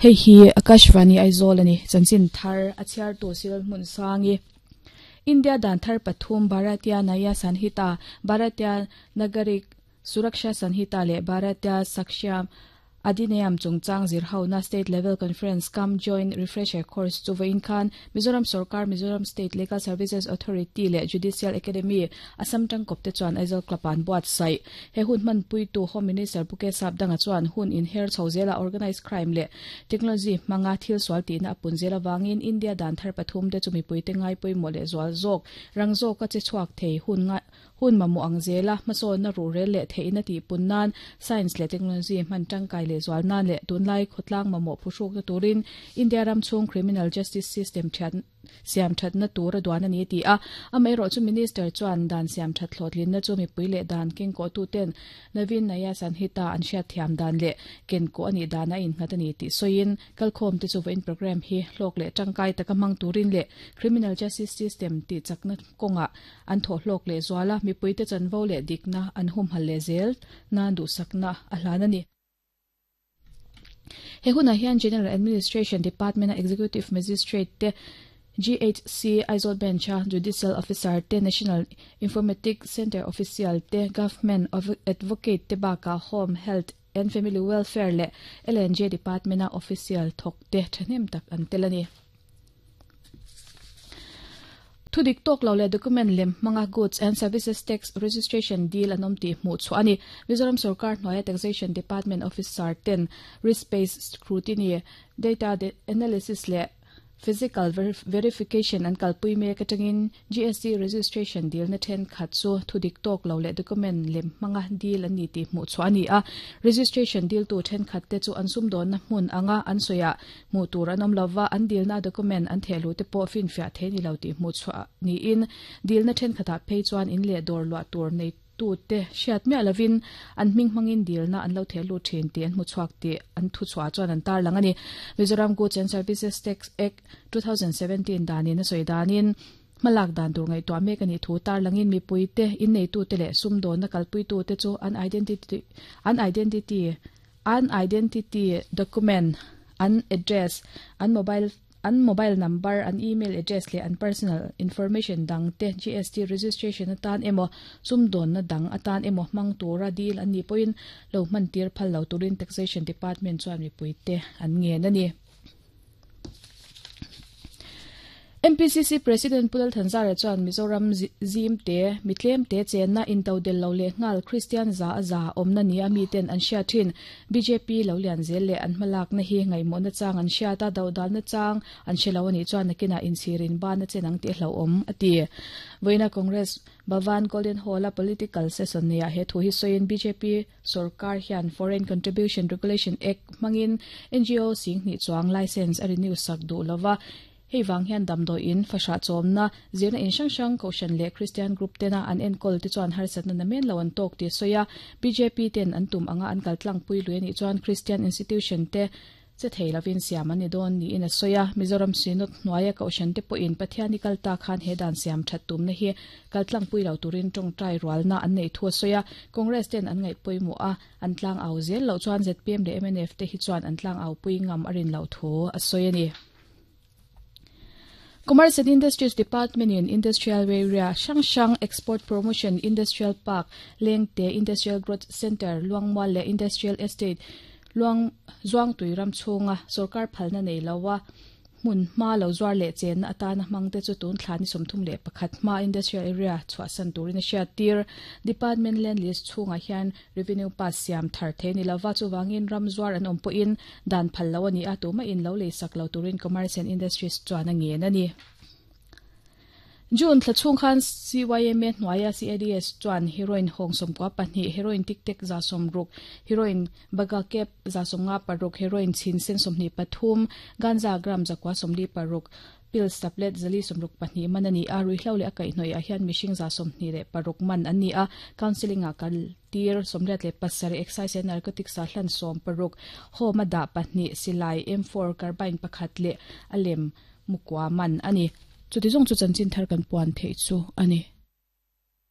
Hei hi Akashvani Aizawl a ni. Chanchin thar a chhiartu Cyril Hmunsangi. India dan thar pathum Bharatiya Nyaya Sanhita, Bharatiya Nagarik Suraksha Sanhita leh Bharatiya Sakshya Adhiniyam chungchang zirhona State Level Conference cum Joint Refresher Course chu vawiin khan Mizoram Sorkar, Mizoram State Legal Services Authority leh Judicial Academy, Assam tangkawp te chuan Aizawl Club ah an buatsaih. He hun hmanpuitu Home Minister Pu Kesap Danga chuan hun inher chho zela organised crime leh technology hmanga thil sual tihna a pun zel avangin India dan thar pathum te chu mipuite ngai pawimawh leh zual zawk rang zawka che chhuak thei hun hun mamawh ang zela hmasawnna ruhrel leh theihna tihpun nan science leh technology hman tangkai leh zual nan leh tunlai khawtlang mamawh phuhrukna turin India ram chhung criminal justice system thiat siam thatna tur a duan a ni a ti a. Amaherawh chu Minister chuan dan siam that hlawhtlinna chu mipui leh dan kengkawhtuten Naveen Naya Sanhita an hriatthiam dan leh kenkawh a nih dan a innghat a ni tih sawiin kalkhawmte chu vawiin programme hi hlawk leh tangkai taka hmang turin leh criminal justice system tihchakna kawngah an thawh hlawk leh zual a, mipuite chanvo leh dikna an humhal leh zel nan duhsakna a hlan a ni. He hunah hian General Administration Department-a Executive Magistrate te, GHC Aizawl Bench-a Judicial Officer te, National Informatics Centre Official te, Government Advocate te bakah Home, Health and Family Welfare leh L&J Department-a Official thawk te thahnem tak an tel a ni. Thudik tawk lo leh document lem hmanga Goods and Services Tax Registration deal an awm tih hmuh chhuah a ni. Mizoram sorkar hnuaia Taxation Department officer ten risk-based scrutiny, data analysis leh physical verification an kalpui mek atangin GST registration dilna thenkhat chu thudik tawk lo leh document lem hmanga deal an ni tih hmuh chhuah a ni a. Registration diltu thenkhat te chu an sumdawnna hmun anga an sawiah Hmuh tur an awm lova, an dilna document an theh luh te pawh finfiah thei ni lo tih hmuh chhuah niin dilna thenkhatah phei chuan in leh dawr luah tur neitute hriat miah lovin an hming hmangin dilna an lo theh lut thin tih an hmu chhuak tih an thuchhuah chuan an tarlang a ni. Mizoram Goods and Services Tax Act, 2017 danin a sawi danin hmalak dan tur ngaihtuah mek a nih thu tarlangin mipuite, inneitute leh sumdawnna kalpuitute chu an identity an identity An identity document, an address, an mobile an mobile number, an email address leh an personal information dang te GST registration atan emaw, sumdawnna dang atan emaw hmang tura deal an nih pawhin lo hman tir phal lo turin Taxation Department chuan mipuite an ngen a ni. MPCC President Pu Lalthanzara chuan Mizoram zim te, mi tlem te chenna intodel lo leh nghal Kristian za a za awmna nia miten an hriat thin. Bjp lo lian zel leh an hmalakna hi ngaihmawhna chang an hriat a, dodalna chang an hre lo a nih chuan nakinah inchhirin ban a chen ang tih a hlauhawm, a ti. Vawiina Congress Bhavan Golden Hall-a political session neihah he thu hi sawiin bjp Sorkar hian Foreign Contribution Regulation Act hmangin NGO singhnih chuang licence a renew sak duh lo va, hei vang hian damdawiin, fahrah chawmna, zirna in hrang hrang, Kohhran leh Kristian group tena an enkawl te chuan harsatna namen lo an tawk tih a sawi a. Bjp ten an tum anga an kaltlangpui lui a nih chuan Kristian institution te Che thei lovin siam an ni dawn niin a sawi a, Mizoram Synod hnuaia Kohhran te pawhin Pathian i kal ta khan he dan siam that tumna hi kaltlangpui lo turin tawngtai rualna an neih thu a sawi a, Congress ten an ngaih pawimawh a, an tlang au zel loh chuan zpm leh mnf te hi chuan an tlang au pui ngam a rin loh thu a sawi a ni. Commerce and Industries Department in Industrial Area hrang hrang Export Promotion Industrial Park, Lengte Industrial Growth Centre, Luangmual leh Industrial Estate, Luang Zuangtui ram chhunga sorkar phalna nei loa hmun hma lo zuar leh chenna atana hmangte chu tun thla ni 31 hma Industrial Area chhuahsan turin a hriattir. Department Land List chhungah hian Revenue Pass siam thar thei ni lova, chuvangin ram zuar an awm pawhin dan phal lo a ni a, tumah in lo lei sak lo turin Commerce and Industries chuan a ngen a ni. June thla chhung khan CYMA hnuaia CADS chuan heroin hawng 12, heroin tik tek 60, heroin baga kep 56, heroin chhin sen 23, ganja gram 946, Pills tablet 462 man a ni a, ruihhlo leh a kaihhnawih ah hian mihring 26 man an ni a, counselling ah kal tir 87, excise and narcotics ah hlan 16, home a dah pahnih, silai, M4, carbine pakhat leh a lem mukua man a ni. Chuti zawng chu chanchin thar kan puan theih chu a ni.